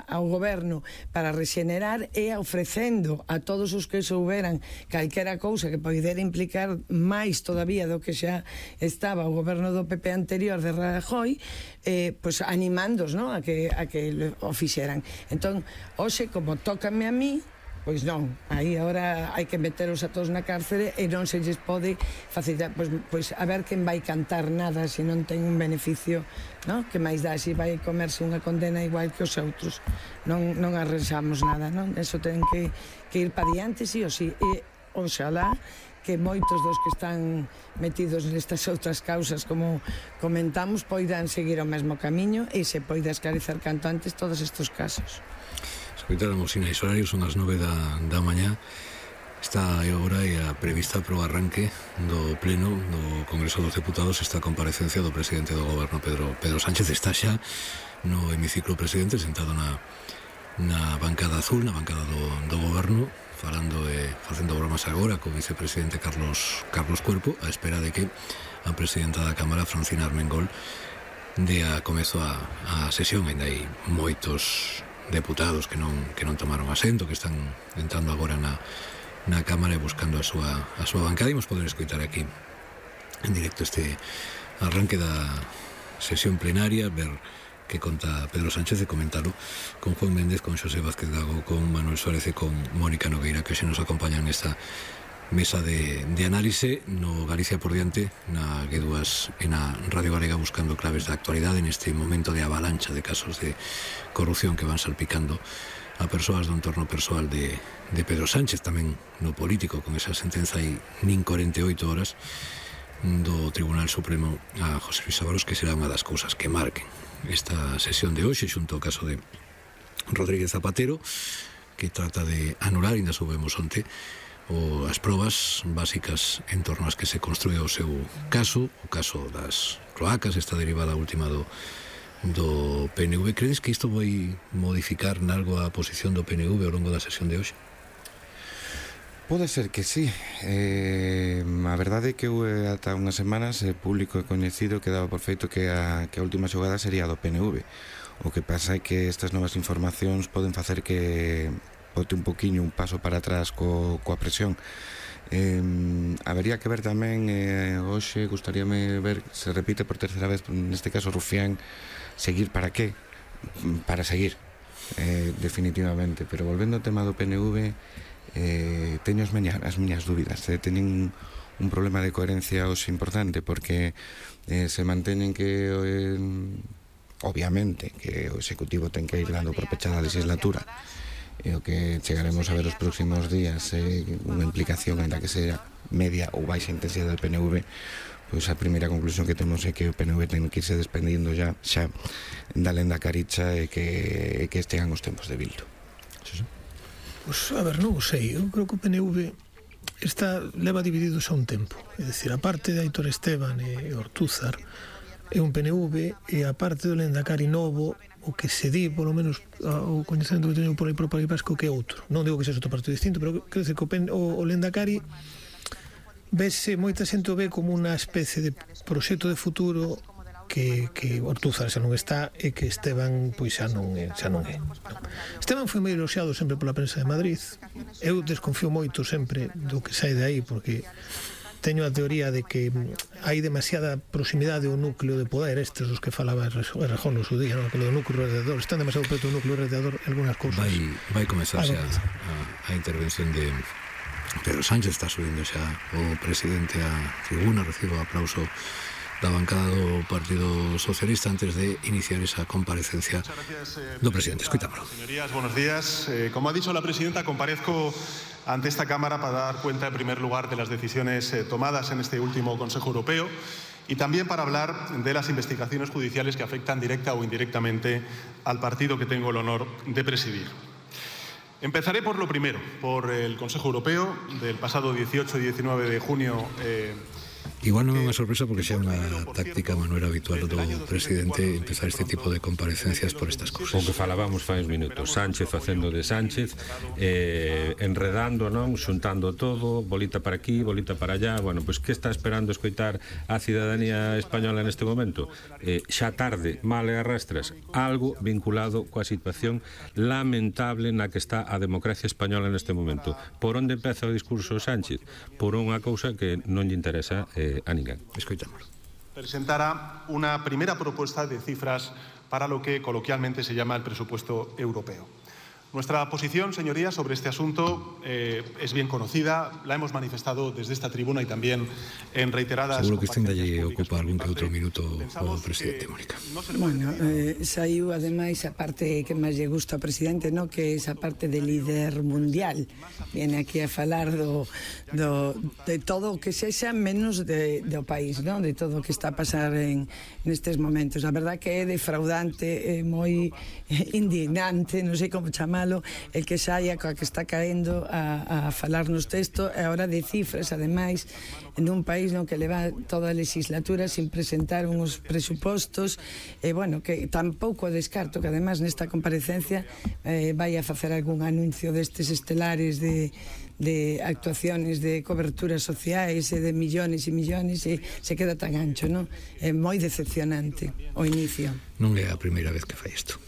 ao goberno para rexenerar e ofrecendo a todos os que souberan calquera cousa que poidera implicar máis todavía do que xa estaba o goberno do PP anterior de Rajoy, pois animándos, non, a que o fixeran. Entón, hoxe, como tócame a mí, pois non, aí agora hai que meteros a todos na cárcere e non se lles pode facilitar, pois a ver quen vai cantar nada se non ten un beneficio, non? Que máis dá se vai comerse unha condena igual que os outros, non arranxamos nada, non? Eso ten que ir para diante, sí ou sí, e oxalá que moitos dos que están metidos nestas outras causas, como comentamos, poidan seguir o mesmo camiño e se poida esclarecer canto antes todos estes casos. Escoitáramos sinais horarios, son as 9 da mañá. Está agora a prevista pro arranque do pleno do Congreso dos Deputados esta comparecencia do presidente do goberno, Pedro Sánchez. Está xa no hemiciclo presidente, sentado na bancada azul, na bancada do goberno, falando e facendo bromas agora co vicepresidente Carlos Cuerpo, a espera de que a presidenta da Cámara, Francina Armengol, dea comezo a sesión. Ainda hai moitos deputados que non tomaron asento, que están entrando agora na Cámara e buscando a súa bancada. Imos poder escoitar aquí en directo este arranque da sesión plenaria, ver que conta Pedro Sánchez e comentalo con Juan Méndez, con Xosé Vázquez Gago, con Manuel Suárez e con Mónica Nogueira, que xe nos acompañan nesta mesa de análise no Galicia por diante, na G2 e na Radio Galega, buscando claves da actualidade neste momento de avalancha de casos de corrupción que van salpicando a persoas do entorno persoal de Pedro Sánchez, tamén no político, con esa sentenza aí nin 48 horas do Tribunal Supremo a José Luis Ábalos, que será unha das cousas que marquen esta sesión de hoxe, xunto ao caso de Rodríguez Zapatero, que trata de anular, ainda soubemos onte, as probas básicas en torno ás que se construe o seu caso, o caso das cloacas, esta derivada última do PNV. Credes que isto vai modificar nalgo a posición do PNV ao longo da sesión de hoxe? Pode ser que sí. A verdade é que ata unhas semanas público e coñecido que daba por feito que a última xogada sería a do PNV. O que pasa é que estas novas informacións poden facer que bote un poquinho un paso para atrás coa presión. Habería que ver tamén, hoxe gustaríame ver se repite por terceira vez, neste caso Rufián, seguir para qué? Para seguir, definitivamente. Pero volvendo ao tema do PNV, teño as miñas dúbidas. Teñen un problema de coherencia hoxe importante, porque se manteñen que obviamente que o Executivo ten que ir dando por pechada a legislatura, e o que chegaremos a ver os próximos días é unha implicación, ainda que sea media ou baixa intensidade do PNV. Pois a primeira conclusión que temos é que o PNV ten que irse desprendindo xa da lenda caricha e que estean os tempos de Bildu. Pois, a ver, non o sei. Eu creo que o PNV leva dividido xa un tempo. É dicir, a parte de Aitor Esteban e Ortúzar é un PNV, e a parte do Lendakari novo, o que se di, polo menos o coñecemento que teño por aí pro País Vasco, que é outro. Non digo que sexa outro partido distinto, pero quero dizer que o Lendakari moita xente o ve como unha especie de proxecto de futuro que Ortúzar xa non está, e que Esteban pois xa non é. Esteban foi moi eloxiado sempre pola prensa de Madrid. Eu desconfío moito sempre do que sai de aí, porque teño a teoría de que hai demasiada proximidade ao núcleo de poder, estes dos que falaba Errejón no seu día, non? Que do núcleo radiador, están demasiado preto do núcleo radiador algunhas cousas. Vai comezar xa a intervención de Pedro Sánchez. Está subindo xa o presidente a tribuna, recibo aplauso da bancada do Partido Socialista antes de iniciar esa comparecencia do presidente. Escuitámoslo. Señorías, buenos días. Como ha dicho la presidenta, comparezco ante esta Cámara para dar cuenta, en primer lugar, de las decisiones tomadas en este último Consejo Europeo, y también para hablar de las investigaciones judiciales que afectan directa o indirectamente al partido que tengo el honor de presidir. Empezaré por lo primero, por el Consejo Europeo del pasado 18 y 19 de junio Igual non é unha sorpresa porque xa é unha táctica, Manuel, habitual do presidente empezar este tipo de comparecencias por estas cousas. O que falábamos fai uns minutos, Sánchez facendo de Sánchez, enredando, non, xuntando todo, bolita para aquí, bolita para allá. Bueno, pois que está esperando escoitar a cidadanía española neste momento? Xa tarde, mal e arrastras, algo vinculado coa situación lamentable na que está a democracia española neste momento. Por onde empeza o discurso Sánchez? Por unha cousa que non lle interesa a ninguén. Escoitamos. Presentará una primera propuesta de cifras para lo que coloquialmente se llama el presupuesto europeo. Nuestra posición, señorías, sobre este asunto es bien conocida, la hemos manifestado desde esta tribuna y también en reiteradas... Seguro que este lle ocupa algún que outro minuto ao presidente, Mónica. Bueno, saiu ademais a parte que máis lle gusta ao presidente, no? Que é esa parte de líder mundial. Viene aquí a falar de todo o que sexa menos do país, no? De todo o que está a pasar nestes momentos. A verdad que é defraudante, é moi indignante, non sei como chamar, el que saia coa que está caendo a falarnos texto e ahora de cifras, ademais, en un país no que leva toda a legislatura sin presentar uns presupostos, e bueno, que tampouco descarto que ademais nesta comparecencia vai a facer algún anuncio destes estelares de actuaciones de coberturas sociais e de millones e millones, e se queda tan ancho, non? É moi decepcionante o inicio. Non é a primeira vez que fai isto.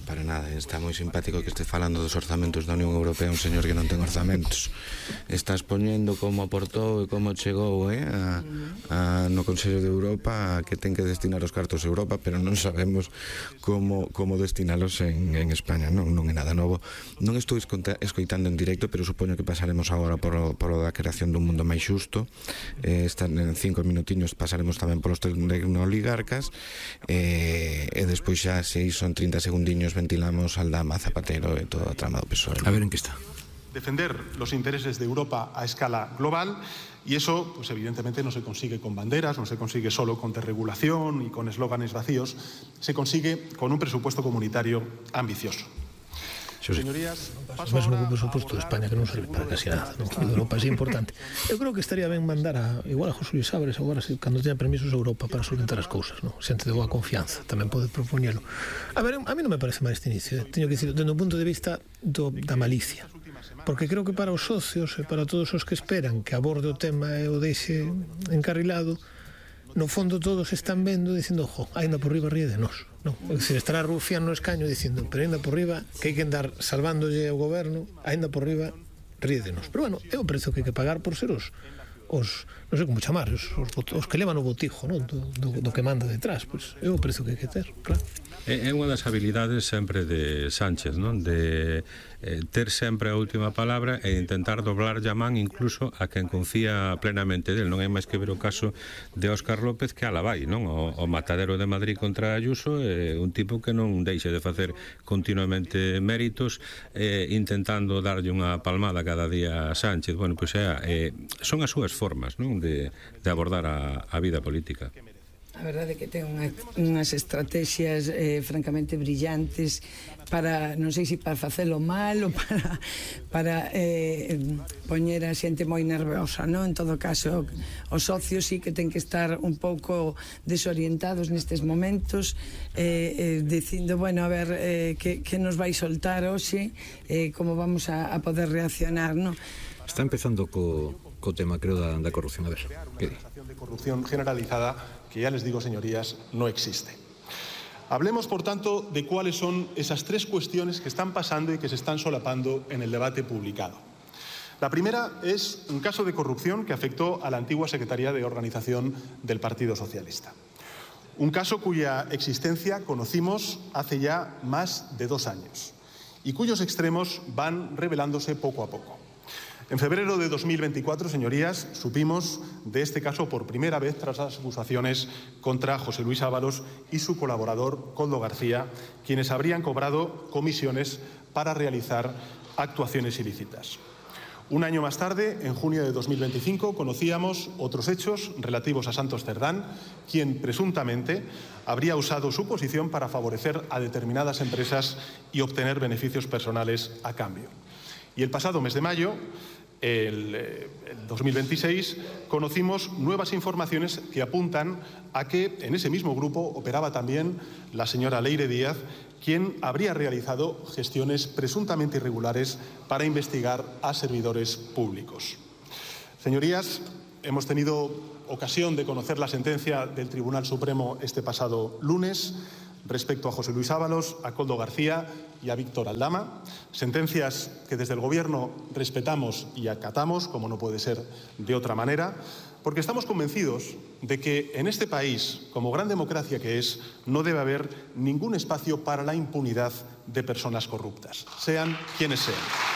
Para nada, está moi simpático que este falando dos orzamentos da Unión Europea un señor que non ten orzamentos. Estás poñendo como aportou e como chegou no Consello de Europa que ten que destinar os cartos a Europa, pero non sabemos como destinalos en España. Non é nada novo. Non estou escoitando en directo, pero supoño que pasaremos agora por a creación dun mundo máis xusto. Están en 5 minutiños, pasaremos tamén polos tecnooligarcas e despois xa, se son 30 segundiños, ventilamos Aldama, Zapatero e toda a trama do PSOE. A ver en que está. Defender los intereses de Europa a escala global, y eso, pues evidentemente no se consigue con banderas, no se consigue solo con desregulación y con eslóganes vacíos, se consigue con un presupuesto comunitario ambicioso. Señorías, paso ahora o presuposto de España que non serve para casi nada, non? De Europa é importante. Eu creo que estaría ben mandar igual a José Luis Álvarez agora, cando teña permisos a Europa para solventar as cousas, non? Xente de boa confianza, tamén pode propoñelo. A ver, a mí non me parece mal este inicio, teño que dicir, dende un punto de vista da malicia, porque creo que para os socios e para todos os que esperan que aborde o tema e o deixe encarrilado, no fondo todos están vendo dicindo, ainda por riba ríe de nós, non? É dicir, estará Rufián no escaño dicindo, pero ainda por riba que hai que andar salvándolle ao goberno, ainda por riba ríe de nós. Pero bueno, é o prezo que hai que pagar por ser os non sei como chamar, os que levan o botijo, non? Do que manda detrás, pois é o prezo que hai que ter, claro. É unha das habilidades sempre de Sánchez, non? De ter sempre a última palabra e intentar doblar a man incluso a quen confía plenamente del. Non hai máis que ver o caso de Óscar López que ala vai, non? O matadero de Madrid contra Ayuso é un tipo que non deixe de facer continuamente méritos intentando darlle unha palmada cada día a Sánchez. Bueno, pois son as súas formas, non? De abordar a vida política. A verdade é que ten unhas estrategias francamente brillantes para, non sei se para facelo mal ou para poñer a xente moi nerviosa, non? En todo caso, os socios sí que ten que estar un pouco desorientados nestes momentos, dicindo, bueno, a ver, que nos vai soltar hoxe, como vamos a poder reaccionar, non? Está empezando co tema, creo, da corrupción. A ver, que di? De corrupción generalizada que ya les digo, señorías, no existe. Hablemos, por tanto, de cuáles son esas tres cuestiones que están pasando y que se están solapando en el debate publicado. La primera es un caso de corrupción que afectó a la antigua Secretaría de Organización del Partido Socialista. Un caso cuya existencia conocimos hace ya más de 2 años y cuyos extremos van revelándose poco a poco. En febrero de 2024, señorías, supimos de este caso por primera vez tras las acusaciones contra José Luis Ábalos y su colaborador Koldo García, quienes habrían cobrado comisiones para realizar actuaciones ilícitas. Un año más tarde, en junio de 2025, conocíamos otros hechos relativos a Santos Cerdán, quien presuntamente habría usado su posición para favorecer a determinadas empresas y obtener beneficios personales a cambio. Y el pasado mes de mayo, el 2026 conocimos nuevas informaciones que apuntan a que en ese mismo grupo operaba también la señora Leire Díaz, quien habría realizado gestiones presuntamente irregulares para investigar a servidores públicos. Señorías, hemos tenido ocasión de conocer la sentencia del Tribunal Supremo este pasado lunes respecto a José Luis Ábalos, a Koldo García y a Víctor Aldama, sentencias que desde el Gobierno respetamos y acatamos, como no puede ser de otra manera, porque estamos convencidos de que en este país, como gran democracia que es, no debe haber ningún espacio para la impunidad de personas corruptas, sean quienes sean.